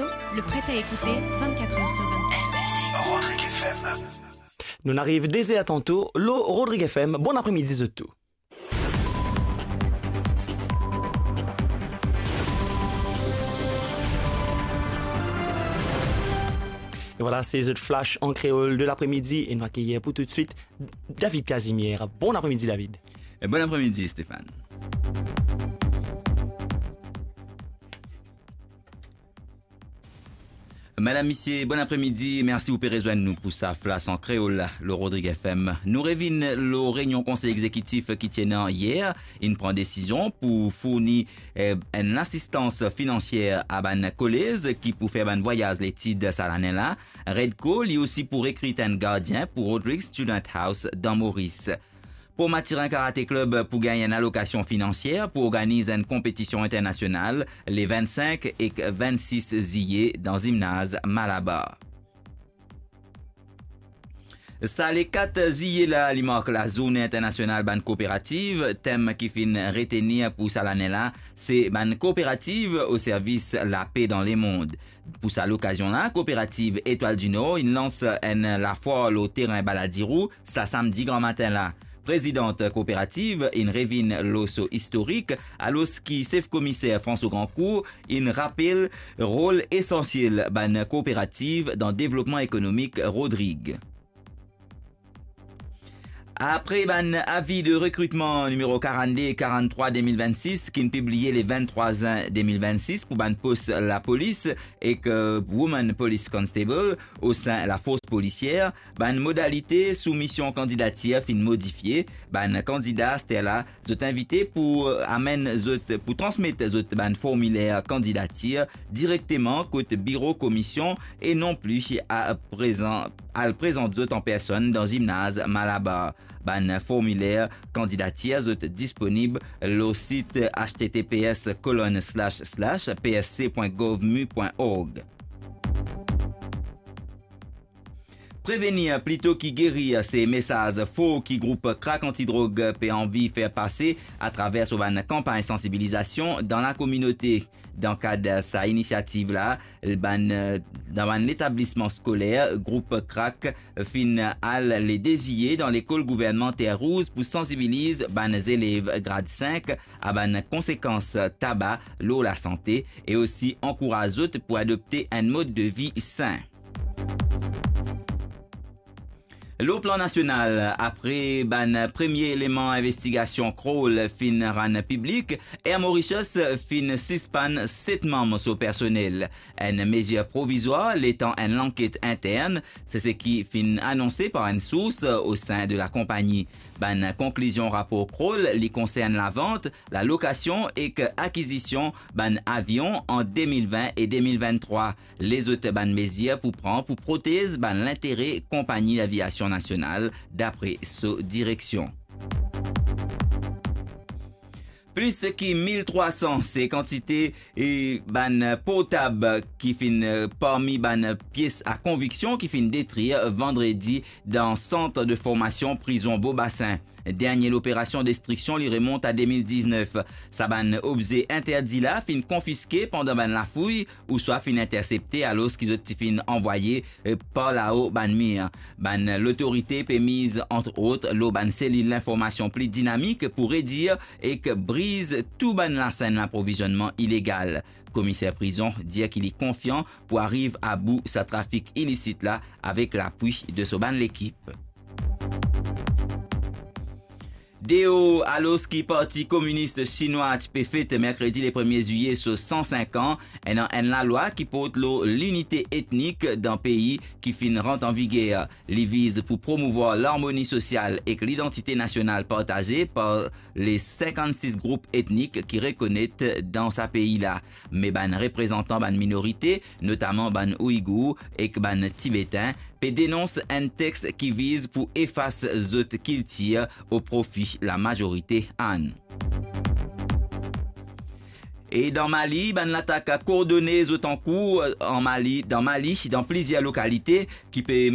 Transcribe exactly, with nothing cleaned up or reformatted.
Le prêt à écouter vingt-quatre heures sur vingt-quatre. Rodrigue F M. Nou ariv de zer tanto lor Rodrigue F M. Bon apremidi zot tou. E vwala, se zot flash an kreol de lapremidi e nou akeyir pou toutswit David Casimir. Bon apremidi, David. E bon apremidi, Stéphane. Madam, misie, bon apremidi. Mersi ou pe rezwenn nou pou sa flash an kreol la, lor Rodrigue F M. Nou revinn lor reynion konsey egzekitif ki ti ena yer. Inn pran desizion pou fourni, eh, enn lasistans finansier a bann kolez ki pou fer bann vwayaz letid sa lane la. Redco, li osi pou rekrit enn gardien pou Rodrigues Student House dan Moris. Port Mathurin Karate Club pou gagn enn alokasion finansier pou organiz enn konpetision internasional le vinn-sink ek vinn-sis ziye dan zimnaz Malabar. Sa le kat ziye la, li mark lazourne internasional bann kooperativ. Tem ki finn retenir pou sa lane la, se bann kooperativ o servis lape dan lemond. Pou sa lokazion la, kooperativ Etoile du Nord inn lans enn lafwar lor terin Balladirou sa samdi gramatin la. Prezidant kooperativ inn revinn lor so istorik, alor ki sef komiser François Grandcourt inn rapel rol esansiel bann kooperativ dan devlopman ekonomik Rodrig. Apre bann avi de rekritman nimero karannde e karanntrwa de mil vinn-sis, ki'nn pibliye le vinn-trwa zin de mil vinn-sis pou bann pos lapolis ek, eh, Woman Police Constable osin lafors polisier, bann modalite soumision kandidatir finn modifie. Bann kandida aster la, zot invite pou, eh, amenn zot, pou transmet zot bann formiler kandidatir direkteman kot biro komisionn e non pli a prezan, al prezant zot an personn dan zimnaz Malabar. Bann formiler kandidatir zot disponib lor sit H T T P S colonne slash slash P S C point gov mu point org. Prevenir plito ki gerir, se mesaz for ki group Krak Antidrog pe anvi fer pase atraver so bann kanpagn sansibilizasion dan lakominote. Dan kad sa inisiativ la, bann, dan bann letablisman skoler, group Krak finn al le de ziye dan lekol gouvernman Terre Rouge pou sansibiliz bann zelev grad sink a bann konsekans taba lor lasante e osi ankouraz zot pou adopte enn mod de vi sin. Lor plan nasional, apre bann premie eleman investigasion Kroll finn rann piblik, Air Mauritius finn sispann set manm so personel. Enn mezir provizwar letan enn lanket intern, se seki finn anonse par enn sours osin de lakonpagni. Bann konklizion rapor Kroll, li konsern lavant, lalokasion ek akizision bann avion an de mil vin e de mil vinn-trwa. Lezot bann mezir pou pran pou protez bann lintere konpagni laviasion nasional, dapre so direksion. Plis ki mil trwa san, se kantite, e, bann portab ki finn, e, parmi bann pies a konviksion ki finn detrir vandredi dan sant de formasion prizon Bobasin. Dernie loperasion destriksion, li remont a de mil diznef. Sa bann obze interdi la finn konfiske pandan bann lafouy ouswa finn intersepte alor ki zot ti finn anvwaye, e, par lao bann mir. Bann lotorite pe miz, ant ot, lor bann selil linformasion pli dinamik pou redir ek briz tou bann lasenn laprovizionman ilegal. Komiser prizon dir ki li konfian pou ariv abou sa trafik ilisit la avek lapwi de so bann lekip. Deor, alor ki Parti Kominis Sinwa ti pe fet merkredi le premie zwiye so san sink an, ena enn lalwa ki port lor linite etnik dan pei ki finn rant an viger. Li viz pou promouvwar larmoni sosial ek lidantite nasional partaze par le sinkannsis group etnik ki rekonet dan sa pei la. Me bann reprezantan bann minorite, notaman bann Ouigour ek bann Tibetin, pe denons enn text ki viz pou efas zot kiltir o profi lamazorite inn. E dan Mali, bann latak koordone zot ankour an Mali, dan Mali, dan plizier lokalite ki pe